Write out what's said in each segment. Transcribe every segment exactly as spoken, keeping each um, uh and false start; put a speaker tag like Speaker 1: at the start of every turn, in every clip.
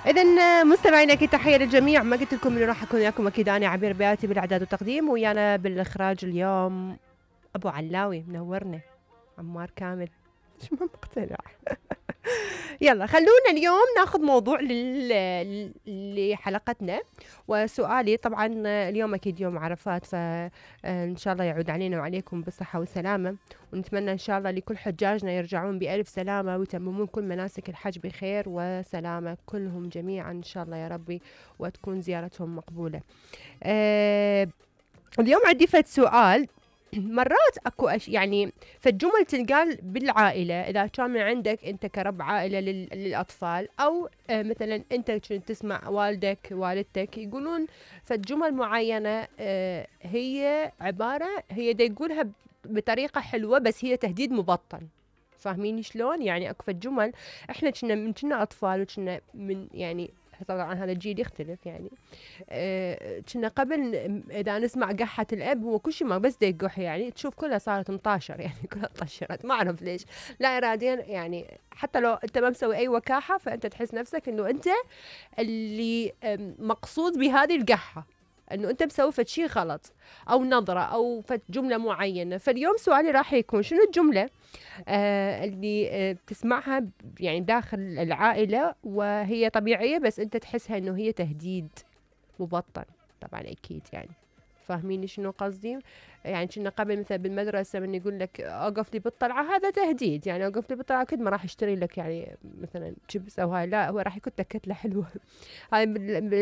Speaker 1: إذا مستمعينا أكيد تحية للجميع. ما قلت لكم إني راح أكون وياكم أكيد أنا عبير بياتي بالإعداد والتقديم، ويانا بالإخراج اليوم أبو علاوي منورنا عمار كامل. مش مقتنع. يلا خلونا اليوم ناخذ موضوع لل... لحلقتنا. وسؤالي طبعا اليوم أكيد يوم عرفات، فإن شاء الله يعود علينا وعليكم بالصحة والسلامة، ونتمنى إن شاء الله لكل حجاجنا يرجعون بألف سلامة ويتممون كل مناسك الحج بخير وسلامة كلهم جميعا إن شاء الله يا ربي، وتكون زيارتهم مقبولة. أه اليوم عندي فد سؤال. مرات اكو أش يعني فالجمل تنقال بالعائله، اذا كان من عندك انت كرب عائله لل... للاطفال، او آه مثلا انت كنت تسمع والدك والدتك يقولون فالجمل معينه، آه هي عباره هي دا يقولها بطريقه حلوه بس هي تهديد مبطن. فاهمين شلون؟ يعني اكو فالجمل احنا كنا من كنا اطفال وكنا من يعني طبعا هذا الجيل يختلف يعني كنا أه قبل اذا نسمع قحة الاب هو كل شيء ما بس دا يقح، يعني تشوف كلها صارت مطاشر، يعني كلها طشرت ما اعرف ليش لا اراديا، يعني حتى لو انت ما مسوي اي وكاحة فانت تحس نفسك انه انت اللي مقصود بهذه القحة، انه انت مسوي فد شيء غلط او نظرة او فد جملة معينة. فاليوم سؤالي راح يكون شنو الجملة آه اللي آه بتسمعها يعني داخل العائلة وهي طبيعية بس انت تحسها انه هي تهديد مبطن؟ طبعا اكيد يعني فاهمين شنو قصدي. يعني كنا قبل مثلا بالمدرسة من يقول لك اوقف لي بالطلعة، هذا تهديد، يعني اوقف لي بالطلعة اكيد ما راح اشتري لك يعني مثلا شيبس او هاي، لا هو راح يكون لك كتلة حلوة. هاي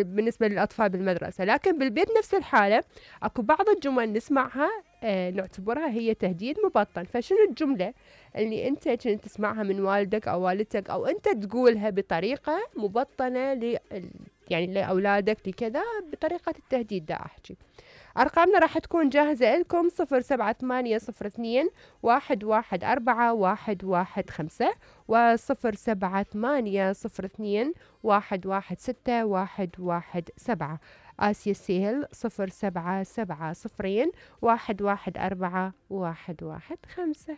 Speaker 1: بالنسبة للاطفال بالمدرسة. لكن بالبيت نفس الحالة اكو بعض الجمل نسمعها آه نعتبرها هي تهديد مبطن. فشنو الجملة اللي انت كنت تسمعها من والدك او والدتك او انت تقولها بطريقة مبطنة ل يعني لأولادك لكذا بطريقة التهديد؟ دا أحكي. أرقامنا راح تكون جاهزة لكم صفر سبعة ثمانية صفر اثنين واحد واحد أربعة واحد واحد خمسة وصفر سبعة ثمانية صفر اثنين واحد واحد ستة واحد واحد سبعة. آسيا السهل صفر سبعة سبعة صفرين واحد واحد أربعة واحد واحد خمسة.